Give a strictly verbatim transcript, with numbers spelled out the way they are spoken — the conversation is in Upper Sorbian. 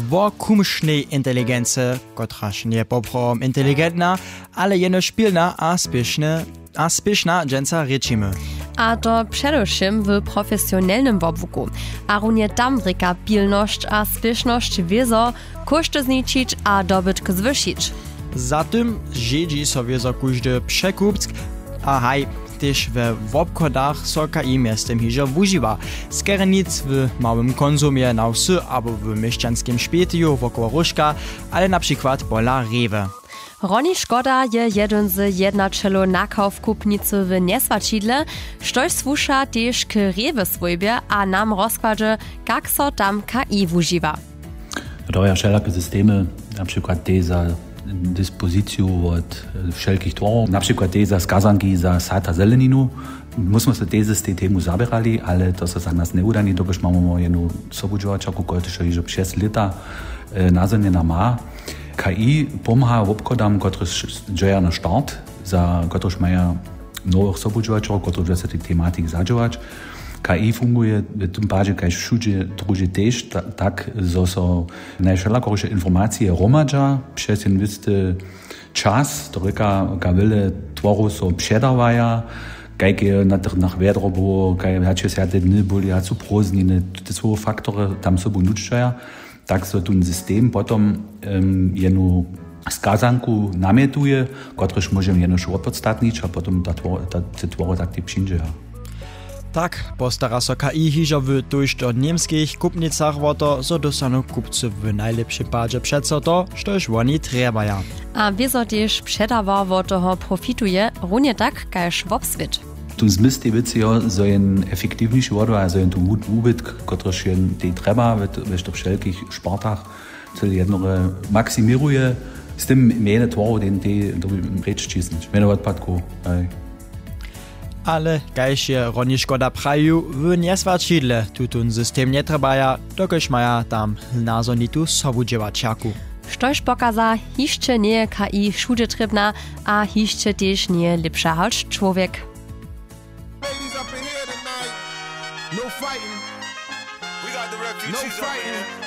Wo kumšnej inteligency, kotraž njeje poprawom inteligentna, ale jenož pilna a spěšne a spěšna dźensa rěčimy. A to předewšěm w profesionelnym wobłuku. A runje tam rěka pilnosć a spěšnosć wězo kóšty zničić a dobytk zwyšić. Za tym žědźi so wězo kóždy překupc. A haj, tež we wobchodach so K I mjeztym hižo wužiwa. Skerjenic w małym konsumje na wsy abo w měšćanskim špetiju wokoło róžka, ale na přikład pola rewy. Ronny Škoda je jedyn z jednaćelow nakawkupnicy w njeswaćidle, štož słuša tež k rewy swójbje a nam rozkładźe, kak so tam K I wužiwa. To ja wšelake systemy, na přikład te za dispoziciju wot wšelkich tworow, na přikład te za skazanki za sad a zeleninu. My smo se tež z tej temu zaběrali, ale to so za nas njewudani, dokelž mamy jednu sobudźěłaćerku, kotrež hižo přez lěta nazhonjena ma. K I pomha wobchodam, kotrež dźeja na start, za kotrež maja nowych sobudźěłaćerjow, kotrež wjace tej tematiki zadźěłać. K I funguje w tym padźe kaž wšudźe druhdźe tež tak, zo so najwšelakoriše informacije hromadźa přez jeno wěsty čas, to rěka, kawile tworow so předawaja, kajke na tych nach wjedro było, kaj wjače swjate dny byli a su prózdniny, tute słowo faktory tam sobu nutřaja. Tak so tón system potom jenu skazanku namjetuje, kotrež móžemy jenož wopodstatnić a potom te twory tak tej přińdźeja. Tak postara so K I hižo w tójšto němskich kupnicach wo to, zo dóstanu kupcy w najlěpšim padźe přeco to, štož woni trjebaja. A wězo tež předawar wo toho profituje runje tak kaž wobswět. Tu zmysł tej wěcy jo, zo jen efektiwniši wodła a zo jen tu wubytk, kotryž jen tej trjeba we to wšelkich sportach, cyle jednore maksimiruje. Z tym mjene tworow den tej dobi rěč ćisnyć mjene wotpadkow. Ale kaž je Ronny Škoda prajił, w njeswaćidle tutón system njetrjebaja, dokelž maja tam nazhonitu sobudźěłaćerku. Štož pokaza, hišće njeje K I wšudźe trěbna a hišće tež njeje lěpša hač čłowjek. Ladies up in here tonight. No fighting. We got the refugees over here.